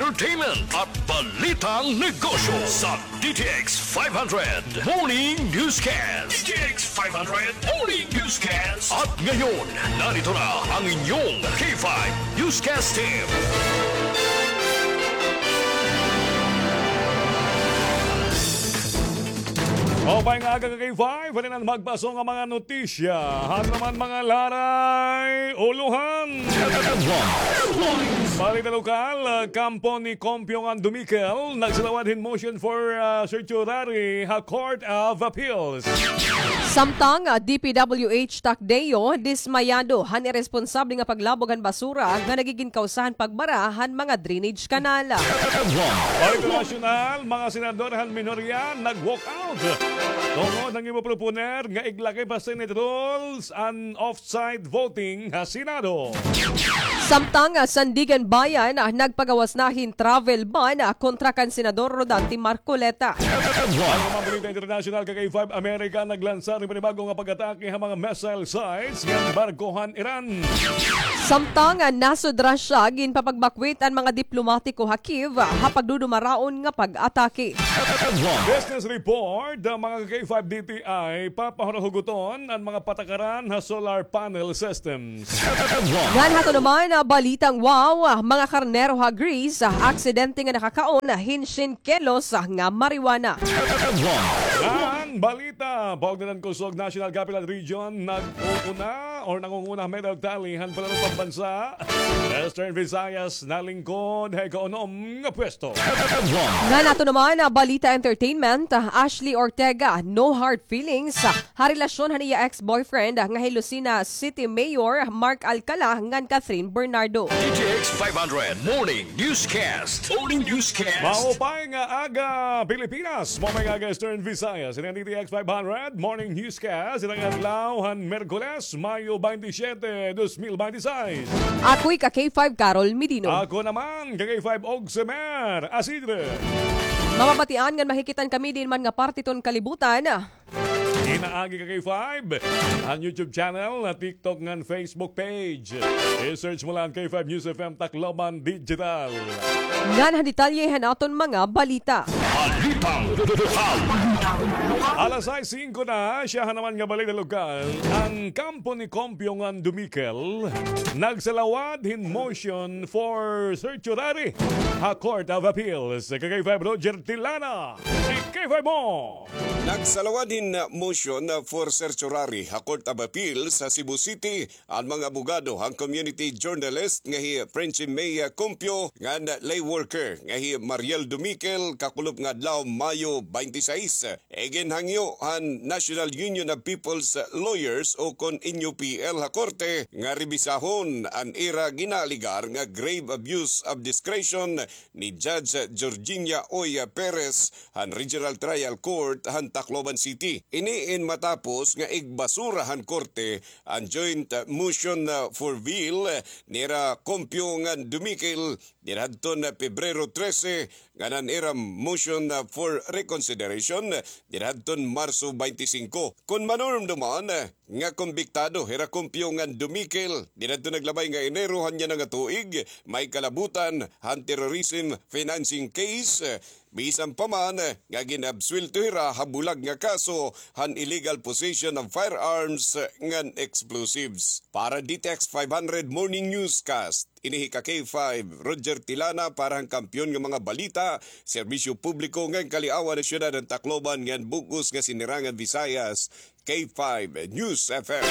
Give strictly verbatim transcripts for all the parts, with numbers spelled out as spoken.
entertainment at balitang negosyo sa D T X five hundred Morning Newscast. D T X five hundred Morning Newscast. At ngayon, narito na ang inyong K five Newscast Team. Maupay nga aga ka K five, halinan magpaso nga mga notisya. Hano naman mga laray, ulohan. Balita lokal, kampo ni Compio ngan Dumikel, nagsalawad hin motion for, ah, certiorari ha Court of Appeals. Samtang, ah, D P W H Tacdeo, dismayado han iresponsable nga paglabog han basura nga nagigin kawsa han pagbara han mga drainage kanal. Balita nasyonal, mga senador han minorya nag-walkout tungod han ginpaproponer nga iglakip ha Senate rules an off-site voting ha Senado. Samtang, ah, Sandiganbayan, ah, nagpagawas na hin travel ban, ah, kontra kan Senador Rodante Marcoleta. An mga balita internasyonal, ka K five, Amerika naglansar hin panibag-o nga pag-atake ha mga missile sites ngan barko han Iran. Samtang, ah, nasud Russia ginpapagbakwit an mga diplomatiko ha Kyiv, ah, ha pagdudumaraon nga pag-atake. Business report, ah, mga K five, D T I, papahuruhuguton an mga patakaran ha solar panel systems. Ngan hato naman, ah, balitang wow, ah, mga karnero ha Greece, ah, aksidente nga nakakaon, ah, hin syen kilos, ah, nga marijuana. Ngan balita, paugnadan kusog National Capital Region, nag-uuna or nangunguna medal tally han palarong pambansa. Western Visayas nalingkod ha ikaunom nga pwesto. Ngan hato naman, ah, balita entertainment, ah, Ashley Ortega, no hard feelings, ah, ha relasyon han iya ex-boyfriend, ah, nga hi Lucena City Mayor Mark Alcala ngan Catherine Bernardo. D T X five hundred Morning Newscast. Morning Newscast. Maupay nga aga, Pilipinas. Maupay nga aga, Eastern Visayas. Ini an D T X five hundred Morning Newscast. Ini an adlaw han Miyerkules, Mayo twenty-seven, dos mil twenty-six. Ako hi ka K five Carol Medino. Ako naman, ka K five Ogsemer Asidre. Mababatian ngan makikit-an kami diin man nga parte hiton kalibutan. Pinaagi ka K five, an YouTube channel, an TikTok ngan Facebook page. I-search mo la an K five News F M Tacloban Digital. Ngan han detalye han aton mga balita. Balitang lokal. Alas sais singko na, siyahan naman nga balita lokal. An kampo ni Compio ngan Dumikel nagsalawad hin motion for certiorari ha Court of Appeals. Ka K five Roger Tilana, si K five mo. Nagsalawad hin motion for certiorari ha Court of Appeals ha Cebu City an mga abogado han community journalist nga hi Frenchie May Compio ngan lay worker nga hi Mariel Dumikel kakulop nga adlaw, Mayo twenty-six. Iginhangyo han National Union of People's Lawyers o kon N U P L ha korte nga rebisahon an ira ginaalegar nga grave abuse of discretion ni Judge Georgina Oy Perez han Regional Trial Court han Tacloban City. Ini in matapos nga igbasura han korte an joint, uh, motion, uh, for bail, uh, nira Compio ngan Dumikel didhadton, uh, Pebrero trese, ngan an ira motion, uh, for reconsideration, uh, didhadton Marso twenty-five. Kon manumduman, uh, nga kombiktado hira Compio ngan Dumikel didhadton naglabay nga Enero han yana nga tuig, may kalabutan han terrorism financing case, bisan pa man nga gin-absuwelto hira ha bulag nga kaso han illegal possession of firearms ngan explosives. Para D T X five hundred Morning Newscast, ini hi ka K five, Roger Tilana, para han kampiyon nga mga balita, serbisyo publiko ngan kaliawan han syudad han Tacloban ngan bug-os nga Sinirangan Visayas, K five News F M.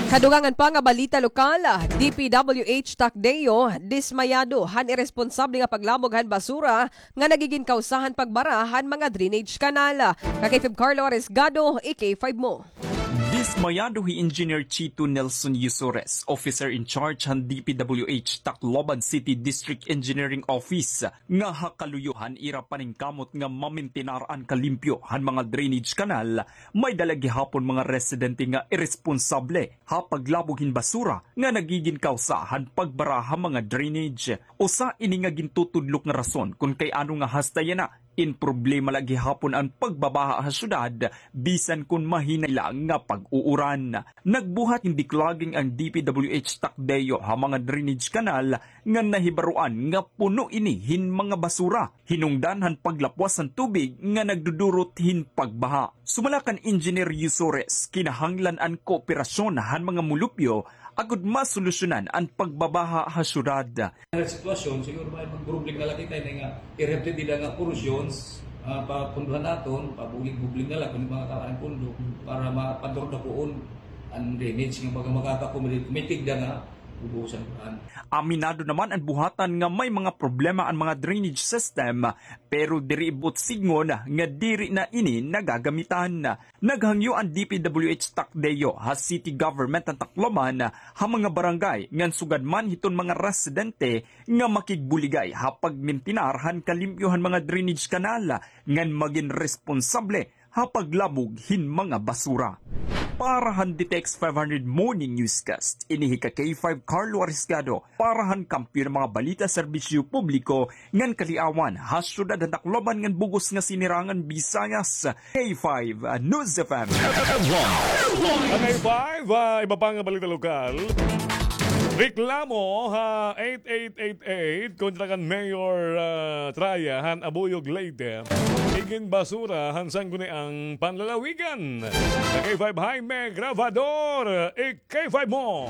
Kadugangan pa nga balita lokal, D P W H Tacdeo, dismayado han iresponsable nga paglabog han basura nga nagigin kawsa han pagbara han mga drainage kanal. Ka K five Carlo Arriesgado, i K five mo. Dismayado hi Engineer Chito Nelson Yusores, officer in charge han D P W H Tacloban City District Engineering Office, nga ha kaluyo han ira paningkamot nga mamintinar an kalimpyo han mga drainage kanal, may-ada la gihapon mga residente nga iresponsable ha paglabog hin basura nga nagigin kawsa han pagbara ha mga drainage. Usa ini nga gintutudlok nga rason kon kay ano nga hasta yana in problema la gihapon an pagbabaha ha syudad, bisan kon mahinay la nga pag- Uuran. Nagbuhat hin declogging an D P W H Tacdeo ha mga drainage canal nga nahibaroan nga puno ini hin mga basura. Hinungdan han paglapwas han tubig nga nagdudurot hin pagbaha. Sumala kan Engineer Yusores, kinahanglan an kooperasyon han mga mulupyo agod masolusyonan an pagbabaha ha syudad. Nga sitwasyon, siguro may pagproblema na la kita ini nga i-represent nila nga portions, ah, papunduhan naton, pabulig-bulig na la kun mga kawalan pundo para mapadurdakuon an drainage nga baga makaka-accommodate, may tigda nga ubusan kuan. Aminado naman an buhatan nga may mga problema an mga drainage system, pero diri buot sidngon nga diri na ini nagagamitan. Naghangyo an D P W H Tacdeo ha city government han Tacloban ha mga barangay ngan sugad man hiton mga residente nga makigbuligay ha pagmintinar han kalimpyo han mga drainage canal ngan magin responsable ha paglabog hin mga basura. Para han D T X five hundred Morning Newscast, ini hi ka K five Carlo Ariscado, para han Kampiyon nga mga Balita, Serbisyo Publiko ngan Kaliawan ha syudad han Tacloban ngan bug-os nga Sinirangan Visayas, K five News F M. Ang K five, ah, iba pa nga balita lokal. Reklamo ha eight eight eight eight kontra kan Mayor, ah, Traya han Abuyog, Leyte. Iginbasura han Sangguniang Panlalawigan. K five Jaime Grabador, i-K five mo.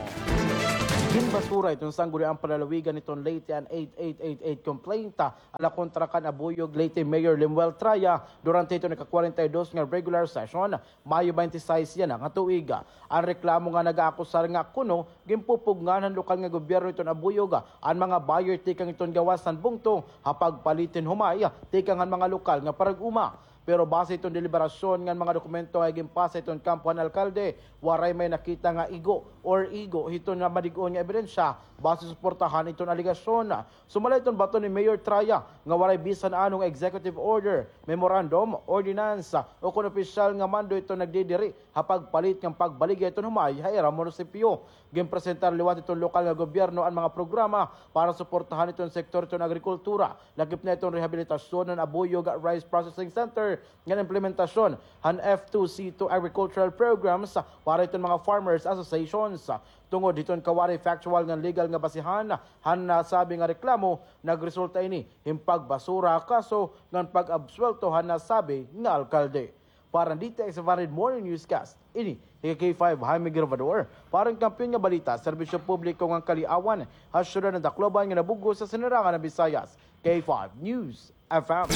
Ginbasura hiton Sangguniang Panlalawigan hiton Leyte an eight eight eight eight complaint, ah, ala kontra kan Abuyog, Leyte Mayor Lemuel Traya durante hiton ika-kwarenta y dos nga regular session, Mayo twenty-six yana nga tuig. An reklamo nga nag-aakusar nga kuno ginpupugngan han lokal nga gobyerno hiton Abuyog an mga buyer tikang hiton gawas han bungto ha pagpalit hin humay tikang han mga lokal nga parag-uma. Pero base hiton deliberasyon ngan mga dokumento nga iginpasa hiton kampo han alkalde, waray may nakita nga igo or igo hiton nga madig-on nga ebidensya base suportahan hiton alegasyon. Sumala hiton baton ni Mayor Traya nga waray bisan ano nga executive order, memorandum, ordinance, o kon opisyal nga mando hiton nagdidiri ha pagpalit ngan pagbaligya hiton humay ha ira munisipyo. Ginpresentar liwat hiton lokal nga gobyerno an mga programa para suportahan hiton sektor hiton agrikultura, lakip na hiton rehabilitasyon han Abuyog Rice Processing Center ngan implementasyon han F two C two agricultural programs para hiton mga farmers associations. Tungod hiton kawaray factual ngan legal nga basihan han nasabi nga reklamo, nagresulta ini hin pagbasura ha kaso ngan pag-absuwelto han nasabi nga alkalde. Para han D T X five hundred Morning Newscast, ini hi K five Jaime Grabador, para han Kampiyon nga Balita, Serbisyo Publiko ngan Kaliawan, ha syudad han Tacloban nga nabug-os sa Sinirangan han Visayas, K five News F M.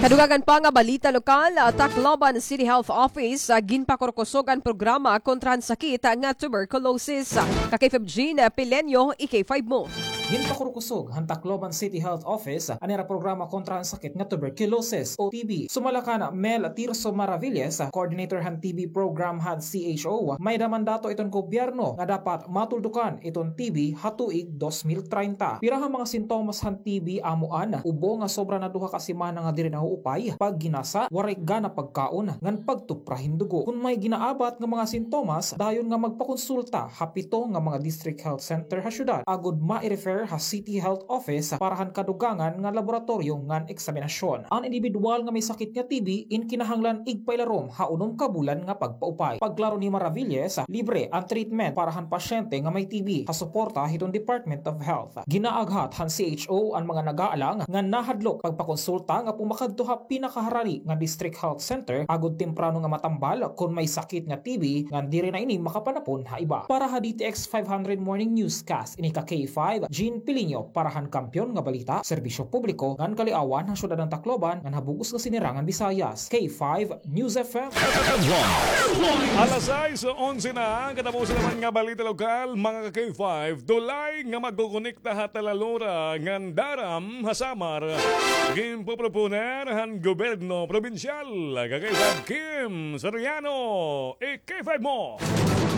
Kadugangan pa nga balita lokal, ah, Tacloban City Health Office, ah, ginpakurkusog an programa kontra han sakit, ah, nga tuberculosis. Ka K five Jean, ah, Pileño, i-K five mo. Ginpakurkusog han Tacloban City Health Office an ira programa kontra han sakit nga tuberculosis o T B. Sumala kan Mel Tirso Maravillas, coordinator han T B program han C H O, may-ada mandato iton gobyerno nga dapat matuldukan iton T B ha tuig dos mil treinta. Pira han mga sintomas han T B amo an ubo nga sobra na duha ka semana nga diri nahuupay, pagginasa, waray gana pagkaon, ngan pagtupra hin dugo. Kon may ginaabat nga mga sintomas, dayon nga magpakonsulta ha pito nga mga district health center ha syudad agod mai-refer ha City Health Office para han kadugangan nga laboratoryo ngan eksaminasyon. An indibidwal nga may sakit nga T B in kinahanglan igpailarom ha unom ka bulan nga pagpaupay. Pagklaro ni Maravillas, libre an treatment para han pasyente nga may T B ha suporta hiton Department of Health. Ginaaghat han C H O an mga nag-aalang nga nahadlok pagpakonsulta nga pumakadto ha pinakaharari nga District Health Center agod temprano nga matambal kon may sakit nga T B ngan diri na ini makapanapon ha iba. Para ha D T X five hundred Morning Newscast, ini ka K five, Jean Pilinho, para han Kampiyon nga Balita, Serbisyo Publiko ngan Kaliawan, ha syudad han Tacloban ngan ha bug-os nga Sinirangan Visayas, K five News F M. Alas sais onse na, katapusan naman nga balita lokal, mga ka K five, tulay nga magkukonekta ha Talalora ngan Daram ha Samar, ginpoproponer han gobyerno probinsyal, ka K five Kim Soriano, i-K five mo.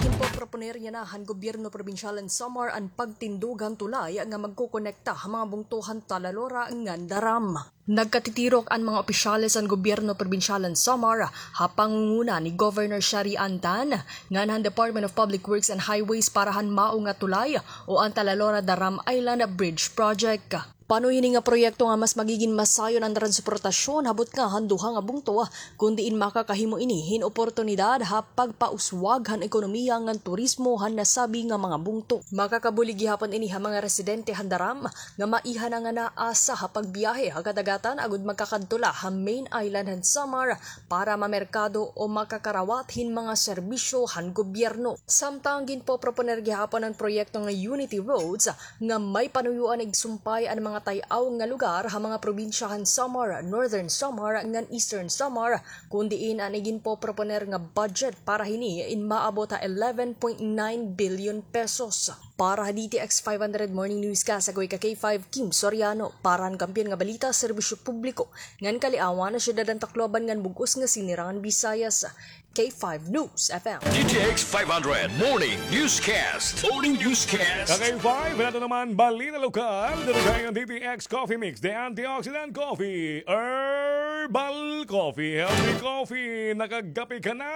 Ginpoproponer yana han gobyerno probinsyal han Samar an pagtindog han tulay nga magkukonekta ha mga bungto han Talalora ngan Daram. Nagkatitirok an mga opisyales han gobyerno probinsyal han Samar ha pangunguna ni Governor Sharee Ann Tan ngan han Department of Public Works and Highways para han mao nga tulay o an Talalora Daram Island Bridge Project. Pano hini nga proyekto nga mas magigin masayon an transportasyon habot nga han duha nga bungto, kun diin makakahimo ini hin oportunidad ha pagpauswag han ekonomiya ngan turismo han nasabi nga mga bungto. Makakabulig gihapon ini ha mga residente han Daram nga maiha na nga naasa ha pagbiyahe ha kadagatan agud makakadto la ha main island han Samar para mamerkado o makakarawat hin mga serbisyo han gobyerno. Samtang ginpoproponer gihapon an proyekto nga Unity Roads nga may panuyoan igsumpay an mga tay-aw nga lugar ha mga probinsya han Samar, Northern Samar ngan Eastern Samar, kun diin an iginpoproponer nga budget para hini in maabot ha eleven point nine billion pesos. Para ha D T X five hundred Morning Newscast, ako hi ka K five Kim Soriano. Para han Kampiyon nga Balita, Serbisyo Publiko ngan Kaliawan, Syudad han Tacloban ngan bug-os nga Sinirangan Visayas, K five News F M. D T X five hundred Morning Newscast. Morning Newscast. Ka K five, nato naman balita lokal. Dito tayo ng D T X Coffee Mix, the antioxidant coffee, herbal coffee, healthy coffee. Nakagapi ka na,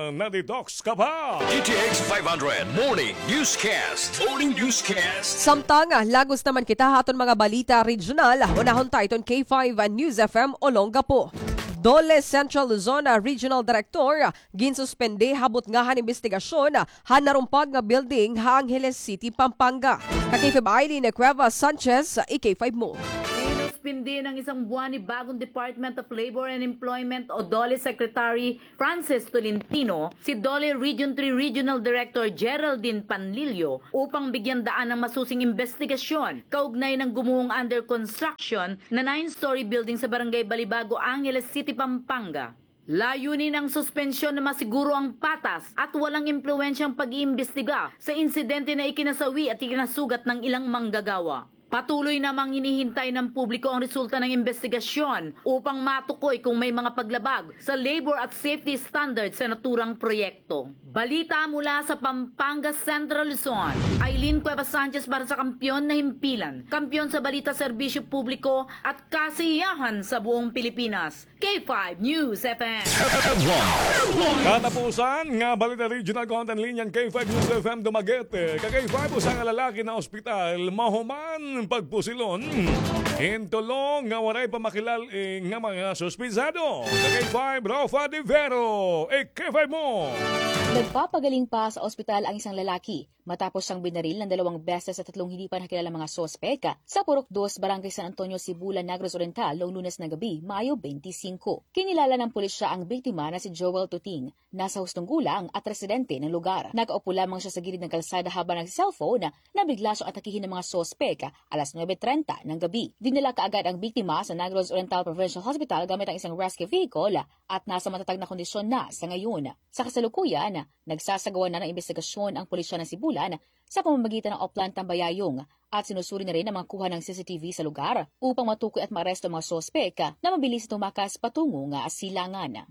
na-detox ka pa. D T X five hundred Morning Newscast. Morning Newscast. Samtang, ah, lagos naman kita ha aton mga balita regional, unahon ta iton K five News F M Olongapo. DOLE Central Luzon, ah, Regional Director, ah, ginsuspende ha butnga han imbestigasyon, ah, han narumpag nga building ha Angeles City, Pampanga. Ka K five Eileen Cuevas Sanchez, ah, i K five mo. Sinuspindi ng isang buwan ni bagong Department of Labor and Employment o DOLE Secretary Francis Tolentino, si DOLE Region three Regional Director Geraldine Panlilio upang bigyan daan ng masusing imbestigasyon kaugnay ng gumuhong under construction na nine-story building sa Barangay Balibago, Angeles City, Pampanga. Layunin ng suspensyon na masiguro ang patas at walang impluwensyang pag-iimbestiga sa insidente na ikinasawi at ikinasugat ng ilang manggagawa. Patuloy namang hinihintay ng publiko ang resulta ng imbestigasyon upang matukoy kung may mga paglabag sa labor at safety standards sa naturang proyekto. Balita mula sa Pampanga Central Luzon, Eileen Cuevas Sanchez para sa Kampiyon na Himpilan, kampiyon sa balita, serbisyo publiko at kasiyahan sa buong Pilipinas. K five News F M. Katapusan nga balita regional content linya han K five News F M Dumaguete. Ka K five, usa nga lalaki na ospital mahuman pagpusilon hin tulo nga waray pa makilal-i nga mga suspitsado. Ka K five, Rofa de Vero, i K five mo. Nagpapagaling pa sa ospital ang isang lalaki matapos siyang binaril ng dalawang beses sa tatlong hindi pa nakilalang mga suspek sa Purok Dos, Barangay San Antonio, Sibulan, Negros Oriental, noong Lunes ng gabi, Mayo twenty-five. Kinilala ng pulisya ang biktima na si Joel Tuting. Nasa hustong gulang at residente ng lugar. Nakaupo lamang siya sa gilid ng kalsada habang nagse-cellphone na bigla siyang atakihin ng mga suspek alas nuebe trenta ng gabi. Dinala kaagad ang biktima sa Negros Oriental Provincial Hospital gamit ang isang rescue vehicle at nasa matatag na kondisyon na sa ngayon. Sa kasalukuyan, nagsasagawa na ng imbestigasyon ang pulisya ng Sibulan sa pamamagitan ng Oplan Tambayayong at sinusuri na rin ang mga kuha ng C C T V sa lugar upang matukoy at maaresto ang mga suspek na mabilis na tumakas patungo nga silangan.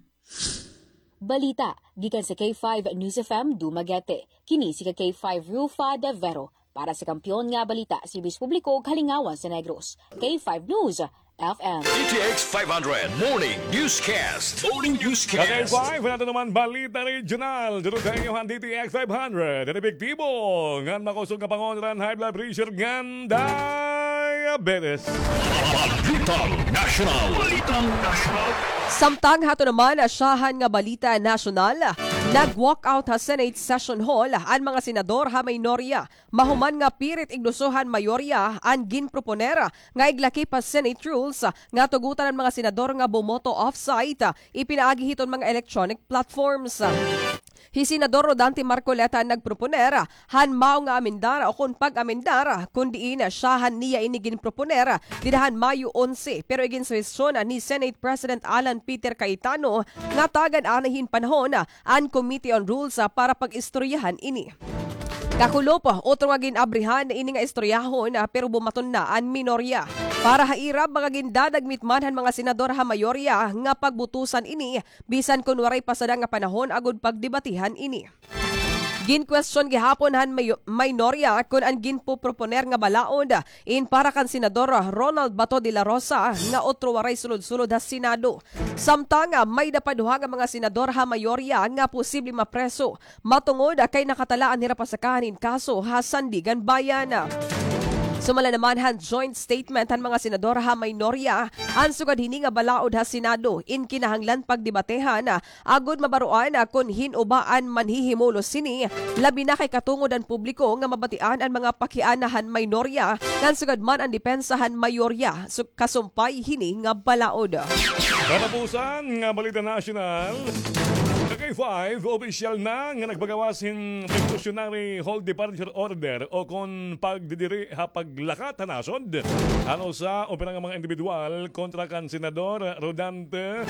Balita gikan sa K five News F M Dumaguete. Kini si ka K five Rufa de Vero para sa Kampiyon nga Balita, Serbisyo Publiko, Kalingawan sa Negros. K five News F M. D T X five hundred Morning Newscast. Morning Newscast. Ka K five, nato naman balita regional. Dito tayo han D T X five hundred. An epektibo ngan makusog nga pangontra han high blood pressure ngan diabetes. Balitang National. Balitang National. Samtang hato naman, ah, syahan nga balita nasyonal, nag-walkout ha Senate Session Hall an mga senador ha minorya. Mahuman nga pirit igluso han mayorya an ginproponer nga iglakip ha Senate rules nga tugotan an mga senador nga bumoto off-site, ipinaagi hiton mga electronic platforms. Hi Senador Rodante Marcoleta an nagproponer han mao nga amendar o kon pag-amendar, kun diin syahan niya ini ginproponer dida han Mayo onse, pero iginsuhestyon ni Senate President Alan Peter Cayetano nga tagan anay hin panahon an Committee on Rules, ah, para pag-istoryahan ini. Kakulop, otro nga gin-abrihan ini nga istoryahon, ah, pero bumaton na an minorya. Para ha ira, baga gindadagmit man han mga senador ha mayorya nga pagbutusan ini, bisan kon waray pa sada nga panahon agod pagdebatihan ini. Ginkwestiyon gihapon han mayo-, minorya kon an ginpoproponer nga balaod in para kan Senador Ronald Bato de la Rosa nga otro waray sulod-sulod ha Senado. Samtang, ah, may-ada pa duha nga mga senador ha mayorya nga posible mapreso matungod, ah, kay nakatala an hira pasakahan hin kaso ha Sandiganbayan. Sumala naman han joint statement han mga senador ha minorya, an sugad hini nga balaod ha Senado in kinahanglan pagdebatehan, agod mabaroan kon hin-o ba an manhihimulos hini, labi na kay katungod an publiko nga mabatian an mga pakiana han minorya, ngan sugad man an depensa han mayorya, su-, kasumpay hini nga balaod. Katapusan nga balita nasyonal. Ka K five, opisyal na nga nagpagawas hin precautionary hold departure order o kon pagdidiri ha paglakat ha nasod han usa o pira nga mga indibidwal kontra kan Senador Rodante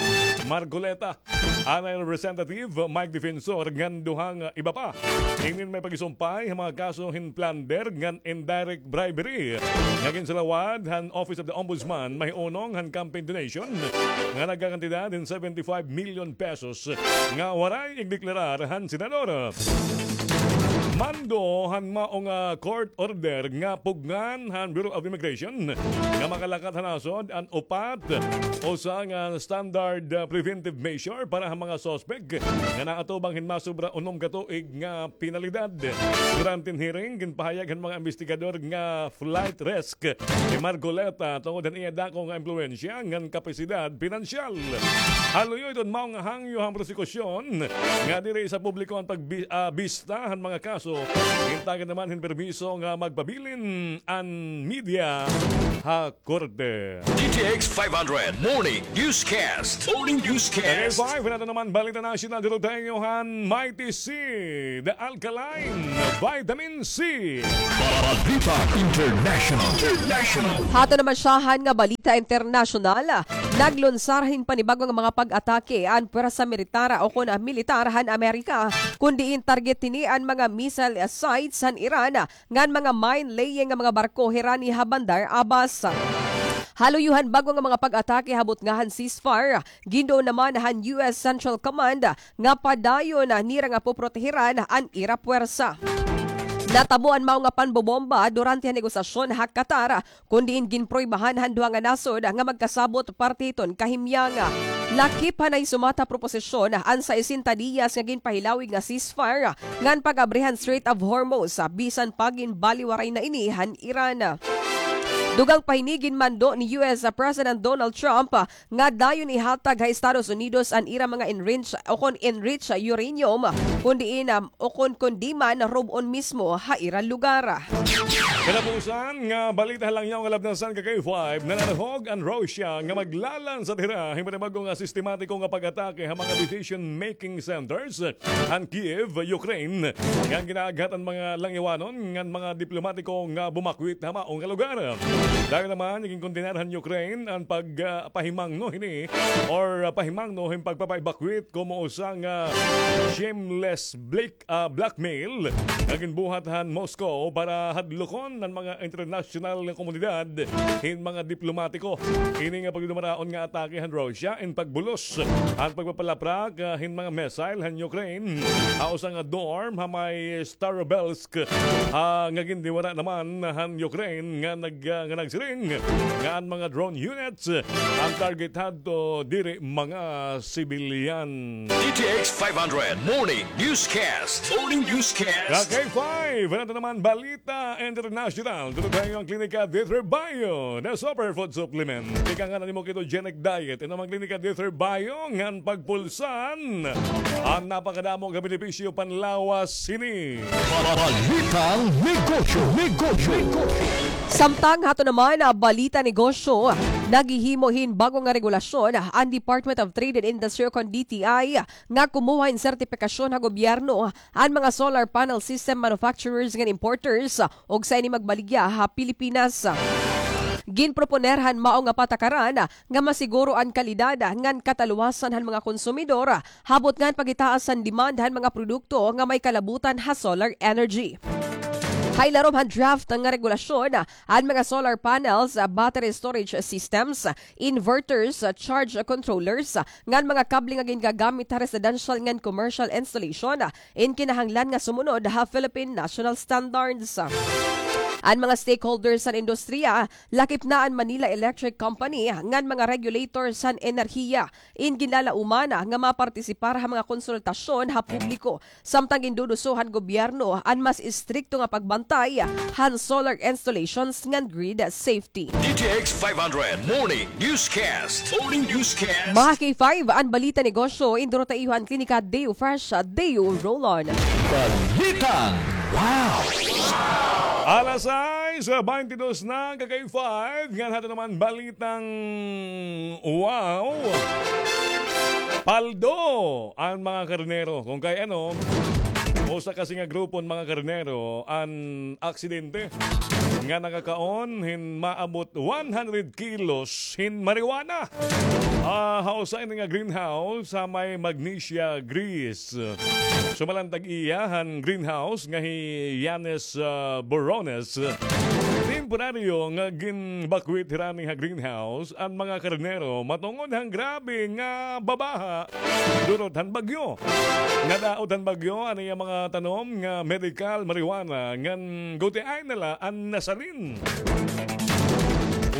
Marcoleta, anay Representative Mike Defensor ngan duha nga iba pa. Inin may pagisumpay ha mga kaso hin plunder ngan indirect bribery nga ginsalawad han Office of the Ombudsman mahiunong han campaign donation nga nagkakantidad hin seventy-five million pesos nga waray igdeklarar han senador. Mando han mao nga court order nga pugngan han Bureau of Immigration nga makalakat ha nasod an upat, usa nga standard, ah, preventive measure para ha mga suspect nga naatubang hin masobra unom ka tuig nga penalidad. Durante hin hearing, ginpahayag han mga investigador nga flight risk ni Marcoleta tungod han iya dako nga impluwensya ngan kapasidad pinansyal. Ha luyo hiton mao nga hangyo han prosekusyon nga diri sa publiko an pagbi-, ah, bista han mga kaso, gintagan naman hin permiso nga magpabilin an media ha korte. D T X five hundred Morning Newscast. Morning Newscast. K five, nato naman balita nasyonal dito tayo han Mighty C, The Alkaline Vitamin C. Balita International. International. Hato naman siyahan nga balita internasyonal. Naglunsar hin panibag-o nga mga pag-atake an pwersa militar o kon militar han Amerika, kun diin target hini an mga missile sites han Iran ngan mga mine-laying nga mga barko hirani ha Bandar Abbas. Ha luyo han bag-o nga mga pag-atake ha butnga han ceasefire, ginduon naman han U S Central Command nga padayon nira nga poprotehiran an ira pwersa. Natabo an mao nga panbobomba durante han negosasyon ha Qatar, kun diin ginpruwebahan han duha nga nasod nga magkasabot parte hiton kahimyang. Lakip han nahisumat ha proposisyon an sesenta diyas nga ginpahilawig nga ceasefire ngan pag-abri han Strait of Hormuz, bisan pa ginbaliwaray na ini han Iran. Dugang pa hini, ginmando ni U S President Donald Trump nga dayon ihatag ha Estados Unidos an ira mga enrich-, o kon enriched uranium, kun diin, um, o kon kundi man rub-on mismo ha ira lugar. Katapusan nga balita ha langyaw nga labnasan ka K five, nanarhog an Russia nga maglalansa hira hin panibag-o nga sistematiko nga pag-atake ha mga decision-making centers han Kyiv, Ukraine, nga ginaaghat an mga langyawanon ngan mga diplomatiko nga bumakwit ha mao nga lugar. Dayon naman, ginkondenar han Ukraine an pag, ah, pahimangno hini or, ah, pahimangno hin pagpapa-evacuate komo usa nga shameless blik-, ah, blackmail nga ginbuhat han Moscow para hadlokon an mga internasyonal nga komunidad hin mga diplomatiko. Ini nga pagdumaraon nga atake han Russia in pagbulos han pagpapalaprak, ah, hin mga missile han Ukraine ha usa nga dorm ha may Starovsk, ah, nga gindiwara naman han Ukraine nga nag-, ah, nga nagsiring nga an mga drone units an target hadto diri mga sibilyan. D T X five hundred Morning Newscast. Morning Newscast. Ka K five, nato naman balita international. Tutukan an Klinika Dieter Bio, the superfood supplement. Tikang an imo ketogenic diet. Inom an Klinika Dieter Bio ngan pagpulsan an napakadamo nga benepisyo panlawas hini. Balitang negosyo, negosyo, negosyo. Samtang hato naman, ah, balita negosyo, naghihimo hin bag-o nga regulasyon an Department of Trade and Industry o kon D T I nga kumuha hin sertipikasyon ha gobyerno an mga solar panel system manufacturers ngan importers, ug sa ini magbaligya ha Pilipinas. Ginproponer han mao nga patakaran nga masiguro an kalidad ngan kataluwasan han mga konsumidor, ha butnga han pagitaas han demand han mga produkto nga may kalabutan ha solar energy. Ha ilarom han draft nga regulasyon, an mga solar panels, battery storage systems, inverters, charge controllers, ngan mga kable nga gingagamit ha residential ngan commercial installation, in kinahanglan nga sumunod ha Philippine National Standards. An mga stakeholders han industriya, lakip na an Manila Electric Company ngan mga regulators han enerhiya, in ginlalauman nga mapartisipar ha mga konsultasyon ha publiko, samtang ginduduso han gobyerno an mas istrikto nga pagbantay han solar installations ngan grid safety. D T X five hundred Morning Newscast. Morning Newscast. Mga K five, an balita negosyo, induro ta iyo han Klinika Deo Fresh, Deo Roll-On. Balitang Wow! Alas sais, baynte dos na, ka K five, ngan hadto naman balitang wow. Paldo an mga karnero. Kon kay ano, usa kasi nga grupo han mga karnero an aksidente nga nakakaon hin maabot one hundred kilos hin marijuana. Ah, ha usa ini nga greenhouse ha may Magnesia, Greece. Sumala an tag-iya han greenhouse nga hi Yanis, ah, Borones, temporaryo nga ginbakwit hirani ha greenhouse an mga karnero matungod han grabe nga babaha durot han bagyo. Nadaot han bagyo an iya mga tanom nga medical marijuana ngan gutiay na la an nasalin.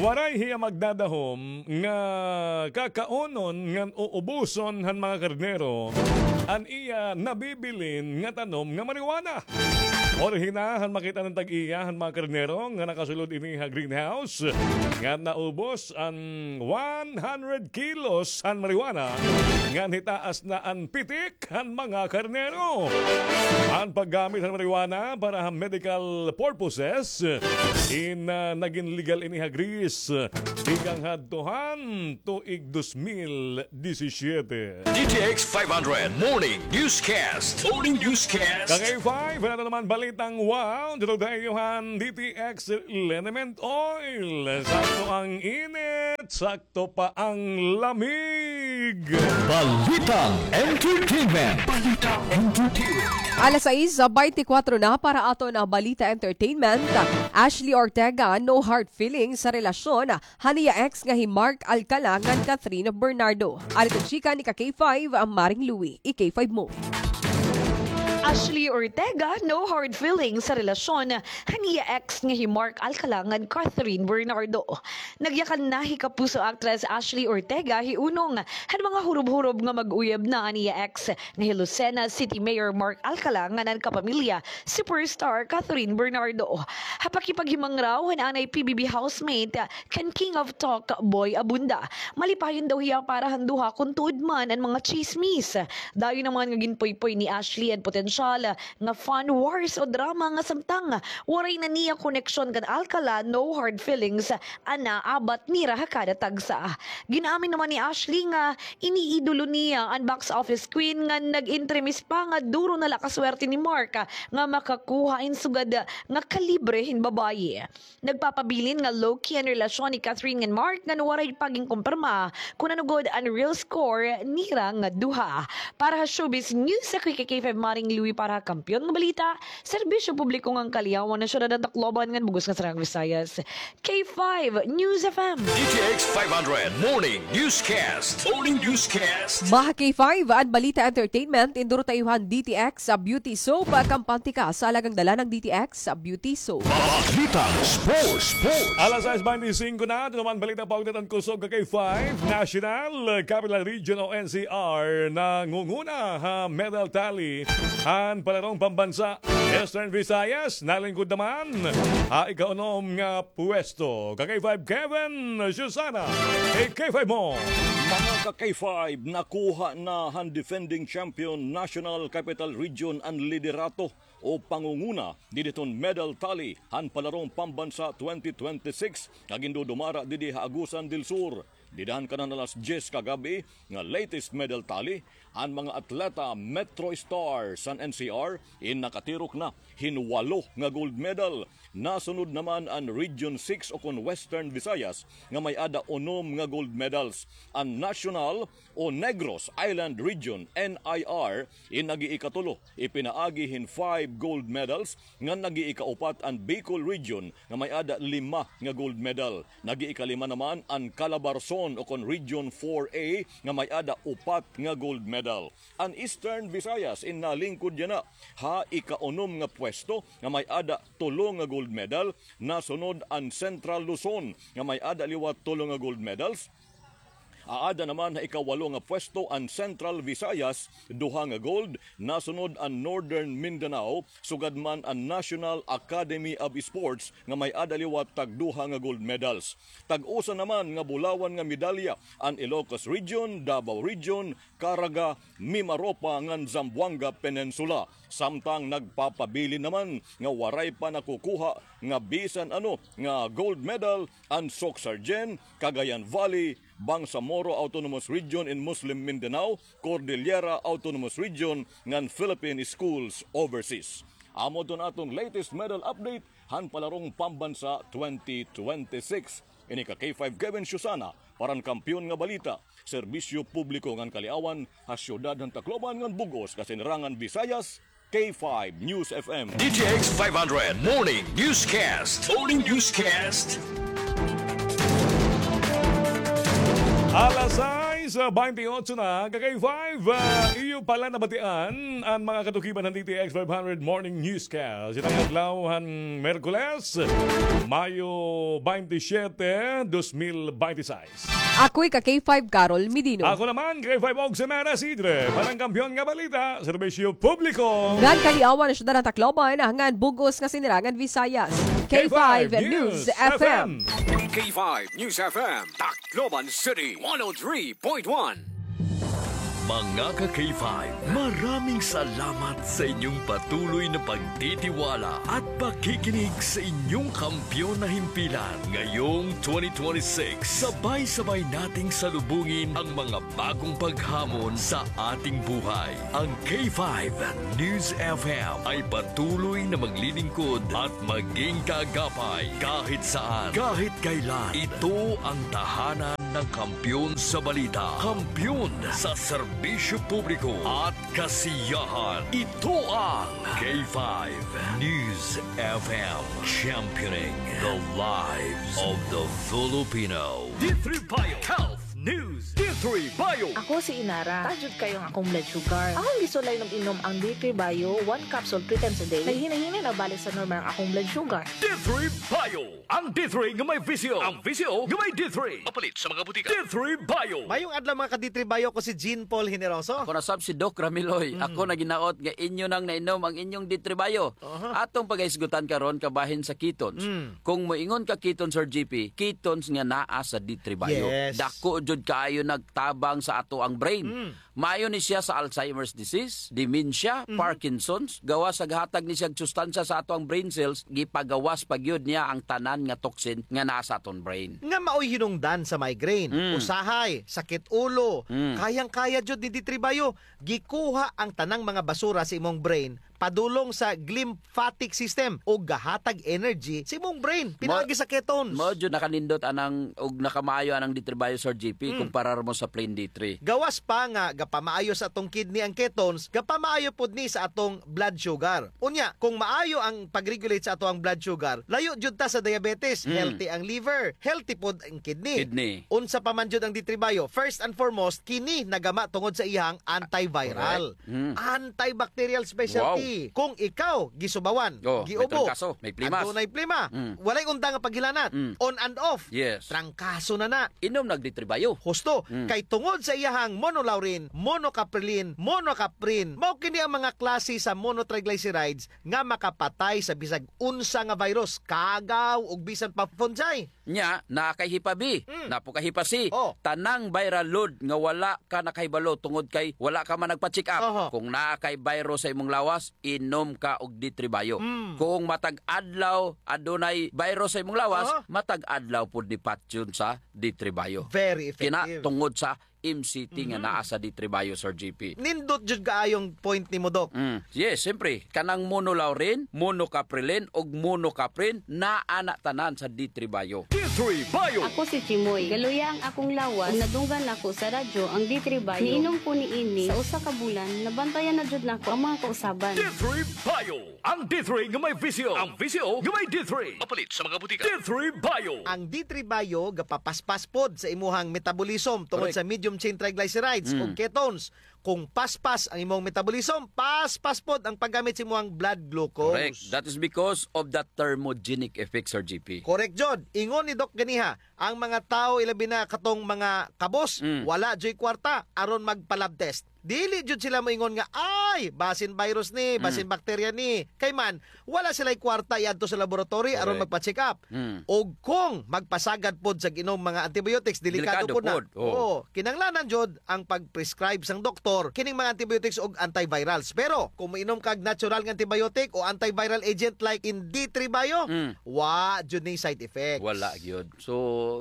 Waray hiya magdadahom nga kakaunon ngan uubuson han mga karnero an iya nabibilin nga tanom nga marijuana. Orihina han makit-an han tag-iya han mga karnero nga nakasulod ini ha greenhouse nga naubos an one hundred kilos han marijuana ngan hitaas na an pitik han mga karnero. An paggamit han marijuana para ha medical purposes in, ah, nagin legal ini ha Greece tikang hadto han tuig dos mil disisiete. D T X five hundred Morning Newscast. Morning Newscast. Ka K five, wala na naman balitang wow. Dito tayo han D T X Liniment Oil. Sakto ang init, sakto pa ang lamig. Balitang entertainment. Balitang entertainment. Alas sais, baynte kwatro na para aton nga balita entertainment. Ashley Ortega, no hard feelings sa relasyon han iya ex nga hi Mark Alcala ngan Catherine Bernardo. Ari it chika ni ka K five, Maring Louie. I-K five mo. Ashley Ortega, no hard feelings sa relasyon han iya ex nga hi Mark Alcala ngan Catherine Bernardo. Nagyakan na hi kapuso actress Ashley Ortega hi unong han mga hurob-hurob nga mag-uyab na an iya ex nga hi Lucena City Mayor Mark Alcala ngan an kapamilya superstar Catherine Bernardo. Ha pakipaghimangraw han anay P B B housemate kan King of Talk, Boy Abunda, malipayon daw hiya para han duha kon tuod man an mga tsismis. Dayon naman nga ginpuypoy ni Ashley an potensyal nga fan wars o drama nga samtang waray na niya koneksyon kan Alcala, no hard feelings an naabat nira ha kada tagsa. Gin-amin naman ni Ashley nga iniidolo niya an box office queen nga nag-entremis pa nga duro na la kaswerte ni Mark nga makakuha hin sugad nga kalibre hin babaye. Nagpapabilin nga low-key an relasyon ni Catherine ngan Mark ngan waray pa ginkumpirma kon ano gud an real score nira nga duha. Para ha showbiz news, ako hi ka K five Maring Louie para ha Kampiyon nga Balita, serbisyo publiko ngan kaliyawan han syudad han Tacloban ngan bug-os nga Saraang Visayas. K five News F M. D T X five hundred Morning Newscast. Morning Newscast. Mga K five, an balita entertainment, induro ta iyo han D T X Beauty Soap, kampante ka sa alagang dala ng D T X Beauty Soap. Balitang sports, sports. Alas sais baynte singko na, ito naman balita paugnat han kusog ka K five. National Capital Region o N C R nangunguna ha medal tally han palarong pambansa. Eastern Visayas, nalingkod naman ha ikaunom nga pwesto. Ka K five Kevin, Susana, i-K five mo. Mga ka K five, nakuha na han defending champion National Capital Region an liderato o pangunguna didi hiton medal tally han palarong pambansa twenty twenty-six nga gindudumara didi ha Agusan del Sur. Dida han kanan alas diyes kagab-i nga latest medal tally, an mga atleta Metro Stars han N C R in nakatirok na hin walo nga gold medal. Nasunod naman an Region six o kon Western Visayas nga may-ada unom nga gold medals. An National o Negros Island Region, N I R, in nag-iikatulo, ipinaagi hin five gold medals, ngan nag-iikaupat an Bicol Region nga may-ada lima nga gold medal. Nag-iikalima naman an Calabarzon o kon Region four A nga may-ada upat nga gold medal. An Eastern Visayas in nalingkod yana ha ikaunom nga pwesto nga may-ada tulo nga gold medal, nasunod an Central Luzon nga may-ada liwat tulo nga gold medals. Aada naman ha ikawalo nga pwesto an Central Visayas, duha nga gold, nasunod an Northern Mindanao, sugad man an National Academy of Sports nga may-ada liwat tagduha nga gold medals. Tag-usa naman nga bulawan nga medalya an Ilocos Region, Davao Region, Caraga, Mimaropa ngan Zamboanga Peninsula. Samtang nagpapabilin naman nga waray pa nakukuha nga bisan ano nga gold medal an Soc-Sargen, Cagayan Valley, Bangsamoro Autonomous Region in Muslim Mindanao, Cordillera Autonomous Region ngan Philippine Schools Overseas. Amo adto an aton latest medal update han palarong pambansa twenty twenty-six. Ini ka K five Kevin Susana para han Kampiyon nga Balita, Serbisyo Publiko ngan Kaliawan ha siyudad han Tacloban ngan bug-os nga sinirangan Visayas, K five News F M. D T X five hundred Morning Newscast. Morning Newscast. Alas sais, ah, baynte otso na, ka K five, ah, iyo pala nabatian an mga katukiban han D T X five hundred Morning Newscast. Ito nga adlaw han Merkules, Mayo baynte siyete, dos mil baynte sais. Ako hi ka K five Carol Medino. Ako naman, K five Oximena Sidre, para han Kampiyon nga Balita, Serbisyo Publiko ngan Kaliawan ha siyudad han Tacloban, ngan bug-os nga sinirangan Visayas. K five News F M. K five News F M, Tacloban City, one oh three point one. Mga ka K five, maraming salamat sa inyong patuloy na pagtitiwala at pakikinig sa inyong kampiyon na himpilan. Ngayong twenty twenty-six, sabay-sabay nating salubungin ang mga bagong paghamon sa ating buhay. Ang K five News F M ay patuloy na maglilingkod at maging kaagapay kahit saan, kahit kailan. Ito ang tahanan ng kampiyon sa balita, kampiyon sa serbisyo publiko at kasiyahan. Ito ang K five News F M, championing the lives of the Filipino. D three Bio Health News. D three Bio. Ako si Inara. Taas jud kaayo ang akong blood sugar. Akong gisulay nag-inom ang D three Bio, one capsule three times a day. Naghinay-hinay na balik sa normal ang akong blood sugar. D three Bio. Ang D three nga may V C O. Ang V C O nga may D three. Mapalit sa mga butika. D three Bio. Mayong adlaw, mga ka-D three Bio, ko si Jean Paul Generoso. Ako na sab si Doc Ramiloy. Mm. Ako na ginaot nga inyo nang nainom ang inyong D three Bio. Aha. Atong pagahisgutan karon kabahin sa ketones. Mm. Kung moingon ka ketones, Sir G P, ketones nga naa sa D three Bio. Yes. Dako jud kaayo nagtabang sa ato ang brain. Mm. Maayo ni siya sa Alzheimer's disease, dementia, mhm, Parkinson's. Gawas sa gahatag ni siya sustansya sa ato ang brain cells, gipagawas pa gyud niya ang tanan nga toxin nga naa sa aton brain. Nga maoy hinungdan sa migraine, mm, usahay, sakit ulo, mm, kayang-kaya jud ni D three Bio. Gikuha ang tanang mga basura sa imong brain, padulong sa glymphatic system ug gahatag energy sa imong brain pinaagi sa ketones. Mao jud nakanindot anang ug nakamaayo anang D three Bio, Sir G P, mm, kumparar mo sa plain D three. Gawas pa nga gapamaayo sa atong kidney ang ketones, gapamaayo pod ni sa atong blood sugar. Unya, kung maayo ang pag-regulate sa ato ang blood sugar, layo jud ta sa diabetes, mm, healthy ang liver, healthy pod ang kidney. Kidney. Unsa pa man jud ang D three Bio? First and foremost, kini nagama tungod sa iyang antiviral. Correct. Mm. Antibacterial specialty. Wow. Kung ikaw gisubawan, oh, may giubo, trangkaso, may plimas, adunay plima, mm, walay unda nga paghilanat, mm, on and off, yes, trangkaso na na. Inom nag D three Bio. Husto, mm, kay tungod sa iyahang monolaurin, monocaprilin, monocaprin, mao kini ang mga klase sa monotriglycerides nga makapatay sa bisag unsa nga virus, kagaw ug bisan pa fungi. Nya, naa kay Hepa B, mm, naa pod kay Hepa C. Oh. Tanang viral load nga wala ka nakahibalo tungod kay wala ka man nagpa-check up. Oho. Kung naa kay virus sa imong lawas, inom ka og D three Bio. Mm. Kung matag adlaw adunay virus sa imong lawas, oho, matag adlaw pud ni patyon sa D three Bio. Very effective. Kina tungod sa M C T nga, mhm, naa sa D three Bio, Sir G P. Nindot jud kaayong point nimo, Doc. Mm. Yes, siyempre, kanang monolaurin, monocaprilin, ug monocaprin, naa na tanan sa D three Bio. D Three Bio. Ako si Chimoy. Galuya ang akong lawas ug nadunggan nako sa radyo ang D three Bio. Niinom ko niini sa usa ka bulan, nabantayan na jud nako ang mga kausaban. D three Bio. Ang D three nga may V C O. Ang V C O nga may D three. Mapalit sa mga butika. D three Bio. Ang D three Bio gapapaspas pod sa imuhang metabolism tungod Correct. sa medium chain triglycerides Mm. ug ketones. Kung paspas ang imong metabolism, paspas pod ang paggamit sa imong blood glucose. Correct. That is because of the thermogenic effect, Sir G P. Correct jud. Ingon ni Doc ganiha, ang mga tawo, ilabi na katong mga kabos, Mm. wala juy kwarta aron magpa-lab test. Dili jud sila moingon nga, "Ay, basin virus ni, Mm. basin bakterya ni." Kay man, wala sila'y kwarta iadto sa laboratory aron Correct. magpa-check up. Mm. Og kung magpasagad pod sa ginom mga antibiotics, delikado Delikado pod na. pod, oo. Oo, kinahanglanan jud ang pag-prescribe sang doktor kining mga antibiotics og antivirals. Pero kung moinom kag natural nga antibiotic o antiviral agent like in D three Bio, Mm. wa jud ni side effects. Wala gyud. So,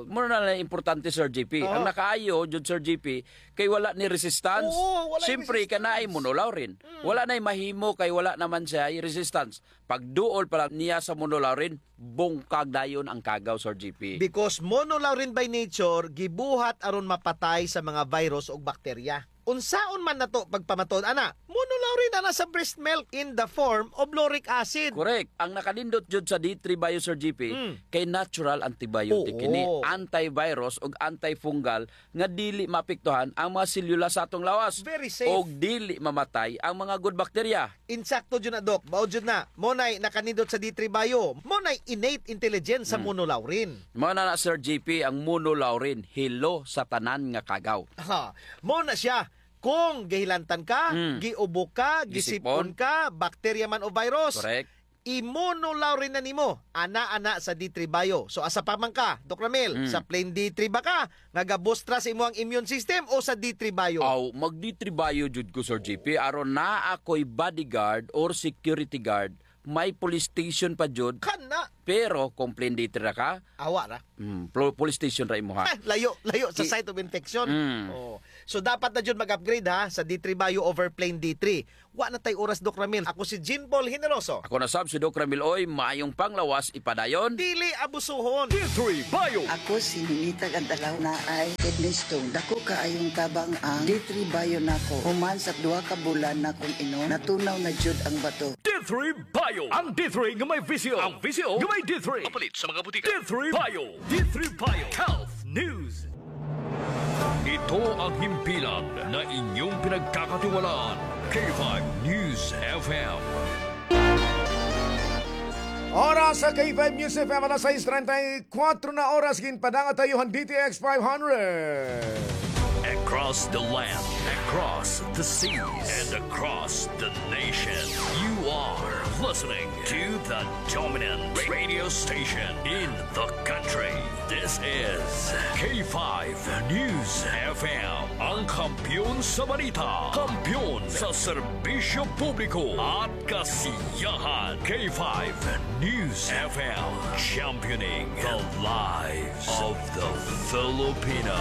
mura na lang importante, Sir G P. Oo. Ang nakaayo jud, Sir G P, kay wala ni resistance. Oo, wala ni Siyempre, resistance. Kanaay monolaurin. Mm. Wala na'y mahimo kay wala naman siya resistance. Pagduol pa lang niya sa monolaurin, bungkag dayon ang kagaw, Sir G P. Because monolaurin by nature, gibuhat aron mapatay sa mga virus ug bakterya. Unsaon man nato pagpamatud ana? Monolaurin ana sa breast milk in the form of lauric acid. Correct. Ang nakanindot jud sa D three Bio, Sir G P, Mm. kay natural antibiotic Oo. kini, antivirus ug antifungal nga dili maapektuhan ang mga selula sa atong lawas. Very safe. Ug dili mamatay ang mga good bacteria. Insakto jud na, Doc. Mao jud na. Mo na'y nakanindot sa D three Bio. Mo na'y innate intelligence sa Hmm. monolaurin. Mao na na, Sir G P, ang monolaurin, hilo sa tanan nga kagaw. Ha, mo na siya. Kung gihilantan ka, Hmm. giubo ka, Gisipon. gisipon ka, bakterya man o virus, Correct. i-monolaurin na nimo. Ana, ana sa D three Bio. So, asa pa man ka, Doc Ramil? Hmm. Sa plain D three ba ka? Nga gabustra sa imo ang immune system o sa D three Bio? Aw, mag D three Bio jud ko, Sir G P. Aron naa ako'y bodyguard or security guard, may police station pa jud. Kana. Pero kung plain D three ra ka, Awa ra. Hmm, plo-, police station ra imo, ha? Ah, layo, layo sa Ki- site of infection. Mm. Oh. So, dapat na jud mag-upgrade, ha, sa D three Bio over plain D three. Wa na tay oras, Doc Ramil. Ako si Jean Paul Generoso. Ako na sab si Doc Ramil Oy. Maayong panglawas, ipadayon. Dili abusuhon. D three Bio. Ako si Ninita Gandalaw, naay kidney stone. Dako kaayong tabang ang D three Bio nako. Human sa duha ka bulan nakong inom, natunaw na jud ang bato. D three Bio. Ang D three nga may V C O. Ang V C O nga may D three. Mapalit sa mga butika. D three Bio. D three Bio. Health News. Ito ang himpilan na inyong pinagkakatiwalaan. K five News F M. Oras sa K five News F M, alas sais treinta y cuatro na oras, ginpadangat ha iyo han D T X five hundred. Across the land, across the seas, and across the nation, you are listening to the dominant radio station in the country. This is K five News F M, ang kampiyon sa balita, kampiyon sa serbisyo publiko at kasiyahan. K five News F M, championing the lives of the Filipino.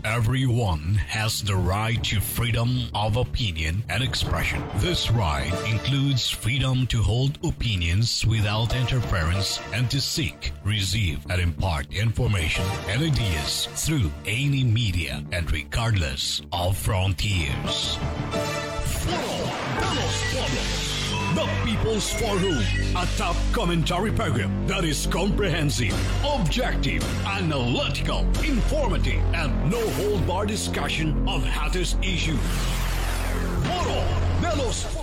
Everyone has the right to freedom of opinion and expression. This right includes freedom to hold opinions without interference and to seek, receive, and impart information and ideas through any media and regardless of frontiers. Foro de los Pueblos, the People's Forum, a top commentary program that is comprehensive, objective, analytical, informative, and no-hold-bar discussion of hottest issues. Foro de los Pueblos.